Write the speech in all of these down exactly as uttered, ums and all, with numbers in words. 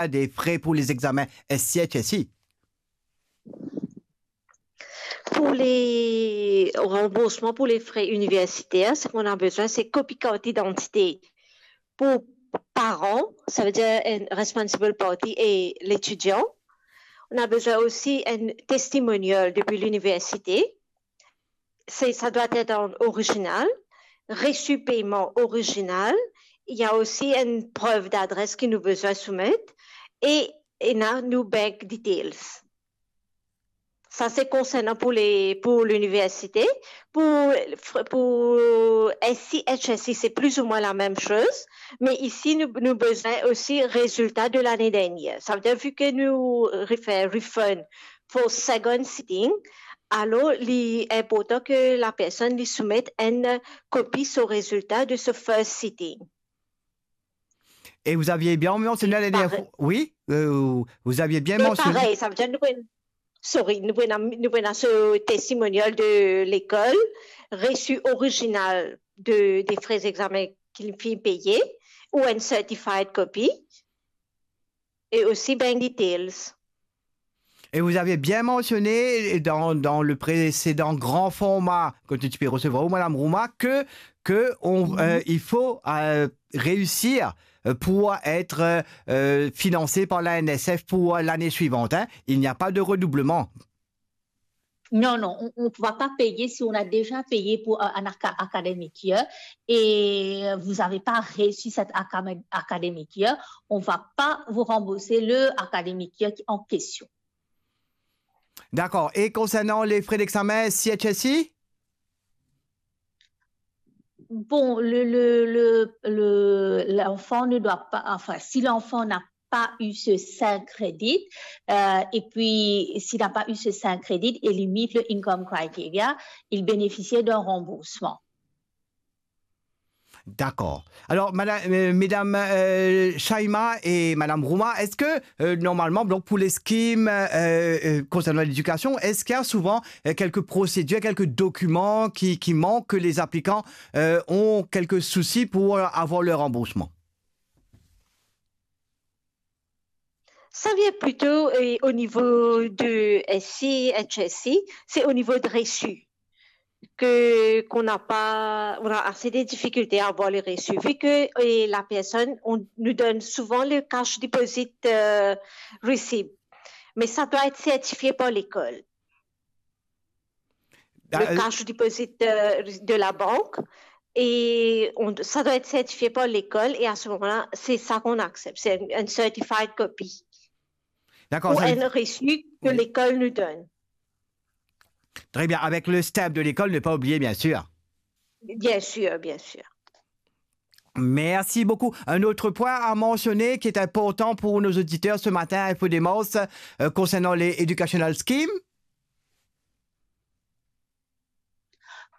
des frais pour les examens S C H S I? Pour les remboursements pour les frais universitaires, ce qu'on a besoin, c'est copie carte d'identité pour parents, ça veut dire un responsible party et l'étudiant. On a besoin aussi un testimonial depuis l'université. C'est, ça doit être en original. Reçu paiement original. Il y a aussi une preuve d'adresse que nous besoin soumettre. Et, et là, nos bank details. Ça, c'est concernant pour les, pour l'université. Pour, pour S C H S I, c'est plus ou moins la même chose. Mais ici, nous, nous besoin aussi résultat de l'année dernière. Ça veut dire, vu que nous refaire refund for second sitting, alors, il est important que la personne lui soumette une copie son résultat de ce first sitting. Et vous aviez bien mentionné la dernière fois. Oui, euh, vous aviez bien mentionné. Parey, sa vedir nou pou ena, sorry, nou pou ena, nou pou ena so testimonial de lekol, reçu original de, des frais examens ki finn peye, ou une certified copy, et aussi bank details. Et vous avez bien mentionné dans, dans le précédent grand format que tu peux recevoir, ou Madame Rouma, que, que on, euh, il faut euh, réussir euh, pour être euh, financé par la N S F pour l'année suivante, hein. Il n'y a pas de redoublement. Non, non, on ne va pas payer si on a déjà payé pour un, un aca- academic year et vous n'avez pas réussi cet academic year, on ne va pas vous rembourser le academic year en question. D'accord. Et concernant les frais d'examen C H S I? Bon, le, le, le, le- l'enfant ne doit pas, enfin, si l'enfant n'a pas eu ce cinq crédits, euh, et puis s'il n'a pas eu ce cinq crédits et limite le income criteria, il bénéficiait d'un remboursement. D'accord. Alors, madame, euh, mesdames euh, Shaima et madame Rouma, est-ce que euh, normalement, donc pour les schemes euh, euh, concernant l'éducation, est-ce qu'il y a souvent euh, quelques procédures, quelques documents qui, qui manquent, que les applicants euh, ont quelques soucis pour avoir leur remboursement? Ça vient plutôt euh, au niveau de S C, H S C, c'est au niveau de reçu que qu'on n'a pas, on a assez de difficultés à avoir les reçus, vu que euh, la personne, on nous donne souvent le cash deposit euh, receipt, mais ça doit être certifié par l'école. Le cash deposit euh, de la banque, et on, ça doit être certifié par l'école, et à ce moment-là, c'est ça qu'on accepte. C'est une, une certified copy. D'accord. Ou un reçu que l'école nous donne. Très bien, avec le stamp de l'école, ne pas oublier, bien sûr. Bien sûr, bien sûr. Merci beaucoup. Un autre point à mentionner qui est important pour nos auditeurs ce matin, Info Démence, euh, concernant les Educational Scheme.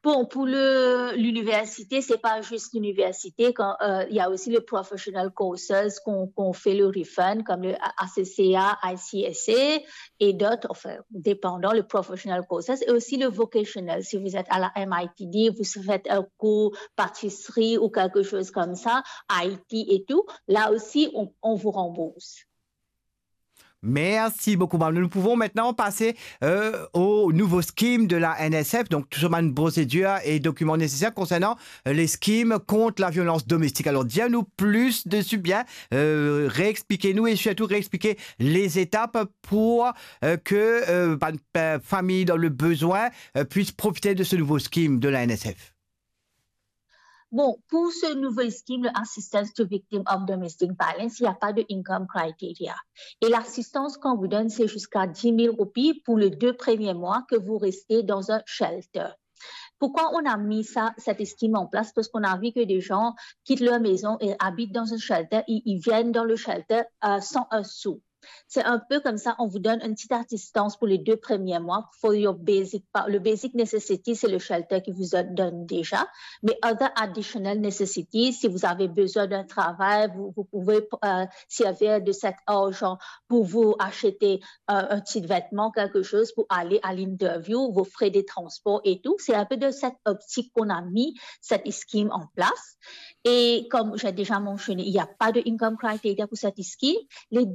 Bon, pour le- l'université, c'est pas juste l'université. Quand, euh, il y a aussi les professional courses qu'on qu'on fait le refund, comme le A C C A, I C S A et d'autres, enfin, dépendant, le professional courses et aussi le vocational. Si vous êtes à la M I T D, vous faites un cours pâtisserie ou quelque chose comme ça, I T et tout, là aussi, on, on vous rembourse. Merci beaucoup, madame. Nous pouvons maintenant passer euh, au nouveau scheme de la N S F, donc tout ce procédure et documents nécessaires concernant euh, les schemes contre la violence domestique. Alors, dis-nous plus dessus, bien, euh, réexpliquez-nous et surtout réexpliquer les étapes pour euh, que euh, une famille dans le besoin euh, puisse profiter de ce nouveau scheme de la N S F. Bon, pour ce nouveau scheme, le Assistance to Victim of Domestic Violence, il n'y a pas de income criteria. Et l'assistance qu'on vous donne, c'est jusqu'à dix mille roupies pour les deux premiers mois que vous restez dans un shelter. Pourquoi on a mis ça, cette scheme en place? Parce qu'on a vu que des gens quittent leur maison et habitent dans un shelter, ils, ils viennent dans le shelter euh, sans un sou. C'est un peu comme ça, on vous donne une petite assistance pour les deux premiers mois for your basic, pa- le basic necessity, c'est le shelter qui vous donne déjà, mais other additional necessity, si vous avez besoin d'un travail, vous, vous pouvez euh, servir de cet argent pour vous acheter euh, un petit vêtement, quelque chose pour aller à l'interview, vos frais de transport et tout. C'est un peu de cette optique qu'on a mis cette scheme en place. Et comme j'ai déjà mentionné, il n'y a pas de income criteria pour cette scheme. Les